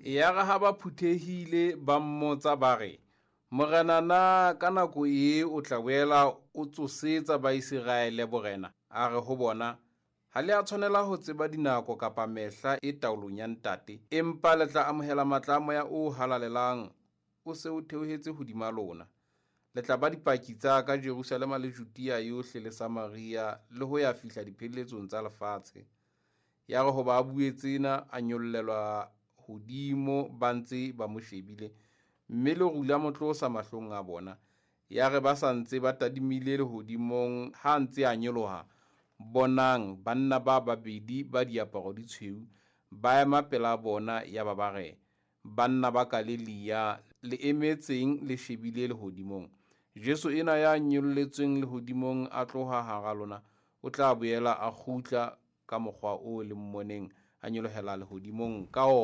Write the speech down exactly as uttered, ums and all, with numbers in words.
Yare ha ba phuthehile, ba mmotsa ba re, Morena, na ka nako ee o tla boela o tsosetsa Baiseraele borena? A re ho bona, Ha le a tshwanela ho tseba dinako kapa mehla e taolong ya Ntate, empa le tla amohela matla a Moya o Halalelang o se o theohetse hodima lona. Le tla ba dipaki tsa ka Jerusalema le Judea yohle le Samaria le ho ya fihla dipheletsong tsa lefatshe. Yare hoba a bue tsena, a nyollelwa hodimo ba ntse ba mo shebile, mme leru la mo tlosa mahlong a bona. Yare ba sa ntse ba tadimile lehodimong ha a ntse a nyoloha, bonang, banna ba babedi ba diaparo di tshweu ba ema pela bona, yaba ba re, Banna ba Galilea, le emetseng le shebile lehodimong? Jesu enwa ya nyolletsweng lehodimong a tloha hara lona, o tla boela a kgutla ka mokgwa oo le mmoneng a nyolohela lehodimong ka ona.